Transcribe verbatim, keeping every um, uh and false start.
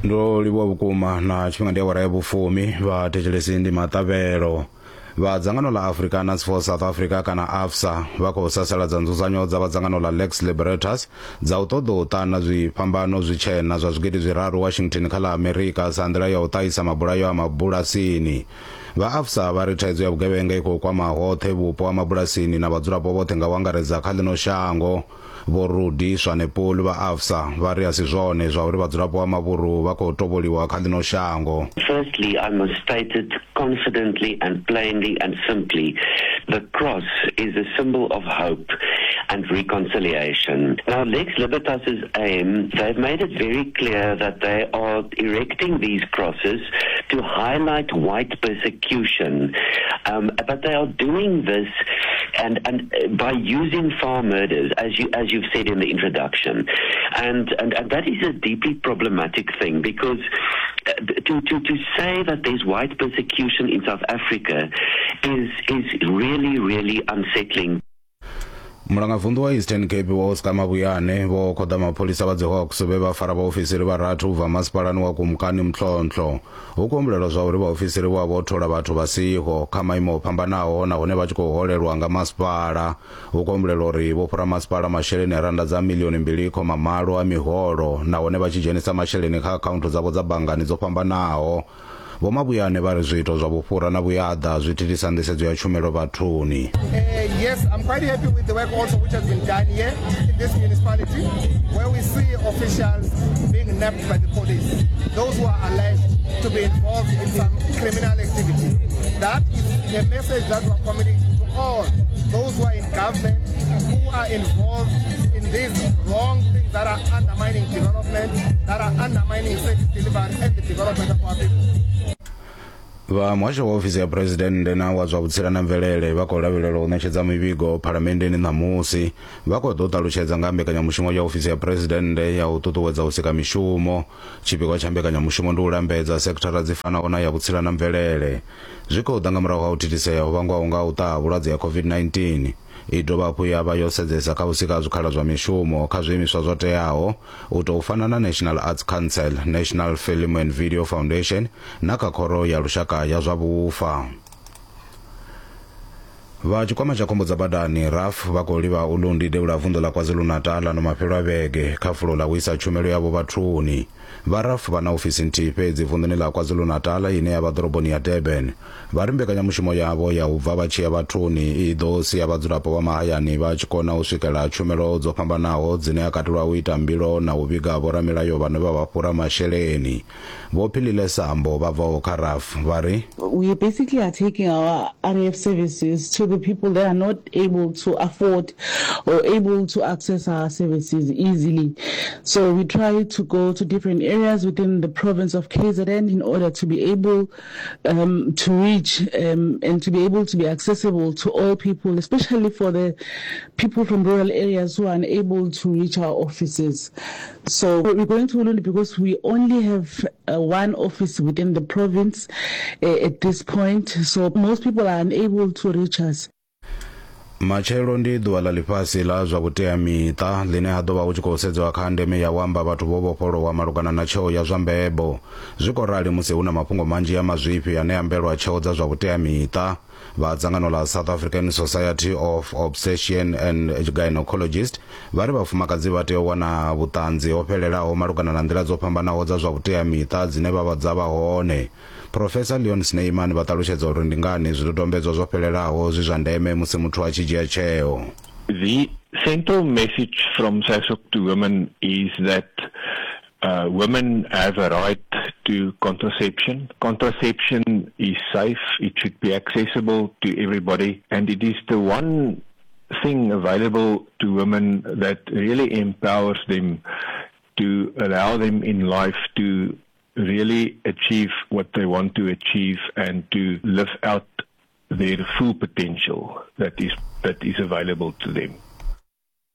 Ndo livhuwa vhukuma na tshifhinga ndi awara ya vhufumi vhathetshelesi ndi maṱavhelo. Vha dzangano ḽa Afrikaners for South Africa kana A F S A vha khou sasaladza nzudzanyo dza vha dzangano ḽa Lex Libertas dza u ṱoḓa u ṱana zwifhambano zwitshena zwa zwigidi zwiraru Washington kha ḽa Amerika sa nḓila ya u ṱahisa mabulayo a mabulasini. Vha A F S A vha ri thaidzo ya vhugevhenga i khou kwama hoṱhe vhupo ha mabulasini na vhadzulapo vhoṱhe nga u angaredza kha ḽino shango. Vho Rudi Swanepoel vha A F S A vha ri a si zwone zwa uri vhadzulapo vha mavhuru vha khou tovholiwa kha ḽino shango. Firstly, I must state it confidently and plainly and simply. The cross is a symbol of hope and reconciliation. Now, Lex Libertas's aim, they've made it very clear that they are erecting these crosses to highlight white persecution. Um, but they are doing this and, and uh, by using farm murders, as you as you've said in the introduction, and and, and that is a deeply problematic thing, because uh, to, to to say that there's white persecution in South Africa is is really, really unsettling. Mulangavunḓu wa Eastern Cape Vho Oscar Mabuyane vho khoḓa mapholisa vha dzi Hawks vhe vha fara vhaofisiri vharathu u bva masipalani wa Kumkani Mhlontlo. Hu khou humbulelwa zwa uri vhaofisiri vho vho thola vhathu vha siho kha maimo o fhambanaho nahone vha tshi khou holelwa nga masipala. Hu khou humbulelwa uri vho fhura masipala masheleni a randa dza milioni mbili khoma malo a miholo nahone vha tshi dzhenisa masheleni kha akhaunthu dzavho dza banngani dzo fhambanaho. Vho Mabuyane vha ri zwiito zwa vhufhura na vhuyaḓa zwi thithisa nḓisedzo ya tshumelo vhathuni. Uh, yes, I'm quite happy with the work also which has been done here in this municipality, where we see officials being nabbed by the police, those who are alleged to be involved in some criminal activity. That is a message that we are communicating to all those who are in government, who are involved in these wrong things that are undermining development, that are undermining service delivery and the development of our people. Vha muhasho wa ofisi ya phuresidennde na wa zwa vhutsila na mvelele vha khou lavhelelwa u ṋetshedza mivhigo phalamenndeni ṋamusi. Vha khou ḓo ṱalutshedza nga mbekanyamushumo ya ofisi ya phuresidennde ya u ṱuṱuwedza u sika mishumo. Tshipikwa tsha mbekanyamushumo ndi u lambedza sekithara dzi fanaho na ya vhutsila na mvelele. Zwi khou ḓa nga murahu ha u thithisea ho vhangwaho nga u ṱaha vhulwadze ya COVID nineteen. I dovha hafhu ya vha yo sedzesa kha u sika zwikhala zwa mishumo kha zwiimiswa zwo teaho u tou fana na National Arts Council, National Film and Video Foundation na kha Khoro ya Lushaka ya zwa Vhufa. Vha tshikwama tsha khombo dza badani R A F vha khou livha Ulundi devhula vunḓu ḽa KwaZulu-Natal ano mafhelo a vhege kha fulo ḽa u isa tshumelo yavho vhathuni. Vha R A F vha na ofisi nthihi fhedzi vunḓuni ḽa KwaZulu-Natal ine ya vha ḓoroboni ya Durban. Vha ri mbekanyamushumo yavho ya u bva vha tshi ya vhathuni i ḓo sia vhadzulapo vha mahayani vha tshi kona u swikela tshumelo dzo fhambanaho dzine ha katelwa u ita mbilo na u vhiga vhoramilayo vhane vha vha fhura masheleni. Vho Philile Sambo vha bvaho kha R A F vha ri: We basically are taking our R A F services to the people that are not able to afford or able to access our services easily. So we try to go to different areas within the province of K Z N in order to be able um, to reach um, and to be able to be accessible to all people, especially for the people from rural areas who are unable to reach our offices. So we're going to Ulundi because we only have uh, one office within the province uh, at this point. So most people are unable to reach us. Matshelo ndi ḓuvha ḽa ḽifhasi ḽa zwa vhuteamiṱa ḽine ha ḓo vha hu tshi khou sedziwa kha ndeme ya u amba vhathu vho vhofholowa malugana na tsheo ya zwa mbebo. Zwi khou rali musi hu na mafhungo manzhi a mazwifhi ane ambelwa tsheo dza zwa vhuteamiṱa. Vha dzangano ḽa South African Society of Obstetrician and Gynecologist vha ri vhafumakadzi vha tea u wana vhuṱanzi ho fhelelaho malugana na nḓila dzo fhambanaho dza zwa vhuteamiṱa dzine vha vha dza vha hone. Professor Leon Snyman vha ṱalutshedza uri ndi ngani zwidodombedzwa zwo fhelelaho zwi zwa ndeme musi muthu a tshi dzhia tsheo. The central message from SASOC to women is that uh, women have a right to contraception. Contraception is safe, it should be accessible to everybody, and it is the one thing available to women that really empowers them to allow them in life to really achieve what they want to achieve and to live out their full potential that is that is available to them.